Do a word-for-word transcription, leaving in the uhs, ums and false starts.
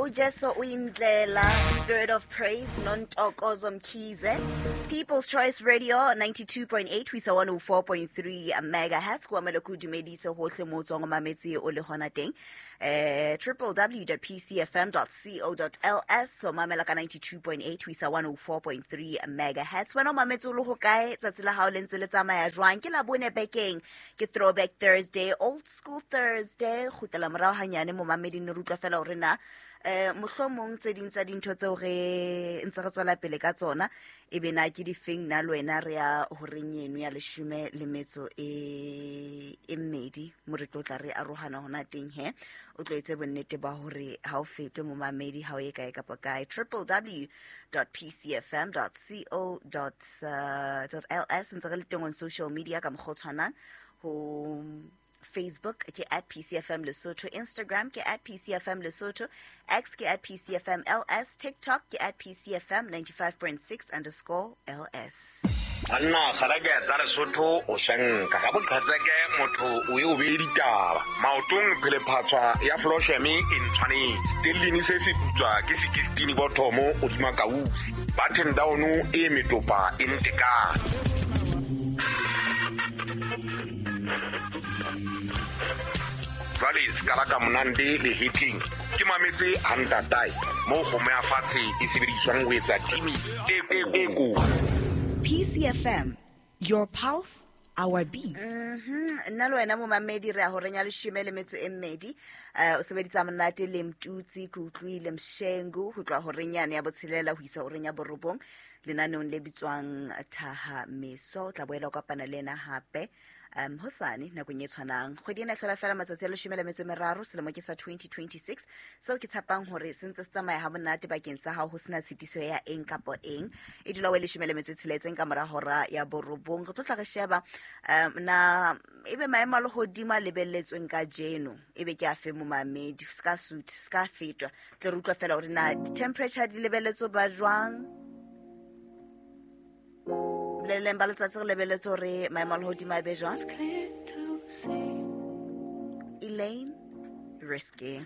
Ujesu Uyindlela, Spirit of Praise, Nontokozo Mkhize. People's Choice Radio ninety-two point eight, we saw one oh four point three megahertz. Kwa mele ku dumedise hohle mo tswang mametse o le hona teng. Eh, w w w dot p c f m dot co dot l s. So mamela ka ninety-two point eight, we saw one oh four point three megahertz. Wena o mametse o le ho kae? Tsatsi la hao le ntse le tsamaya jwang? Ke la bone bekeng. Ke Throwback Thursday, Old School Thursday. Kgutlela morao hanyane mo mameding re utlwa fela hore na eh mohlomong tse ding tsa dintho tseo re ntse re tswela pele ka tsona e be na ke difeng na le wena re ya horeng eno ya leshome le metso e e mmedi mo re tlo tla re arohana hona teng he o tlo etse bonnete ba hore ha o fetwe momamedi ha o ye kae kapa kae. W w w dot p c f m dot co dot l s ntse re le teng on social media ka mokgwa o tshwanang ho Facebook ke at P C F M Lesotho, Instagram ke at P C F M Lesotho, X ke at P C F M L S, TikTok ke at P C F M ninety-five point six underscore L S. Banna kgarake tsa Lesotho o shanka ga boqhetseke motho o e o be ditaba maotong phelephatswa ya Flosheme e ntshwanetse stellini se se putswa ke sixteen bothomo o dima kausi button down e metopa e ntekane. Jwale ska la ka monande le hitting ke mametse hantatai mo kgomo ya fatshe e sebediswang ho etsa timi e e ko. P C F M, your pulse, our beat. Mhm nna le wena momamedi re a horeng ya leshome le metso e mmedi eh o sebeditsa monate le Mtutsi ke utlwile Mshengu ho tloha horeng yane ya botshelela ho isa horeng ya borobong lenaneong le bitswang Thaha Meso. O tla boela o kopana le ena hape um hosane nakong e tshwanang. Kgwedi ena e hlola fela matsatsi a leshome le metso e meraro selemo ke sa twenty twenty-six seo ke tshepang hore se ntse se tsamaya ha monate bakeng sa hao ho sena tshitiso ya eng kapa eng. E dula o e leshome le metso e tsheletseng ka mora hora ya borobong. Re tlo tla re sheba um na ebe maemo a lehodimo a lebelletsweng kajeno ebe ke a fe momamedi se ka suit se ka fetwa tle re utlwa fela hore na di-temperature di lebelletswe ba jwang. Boleleng ba letsatsi re lebelletse hore maemo a lehodimo a be jwang. Elaine Risky.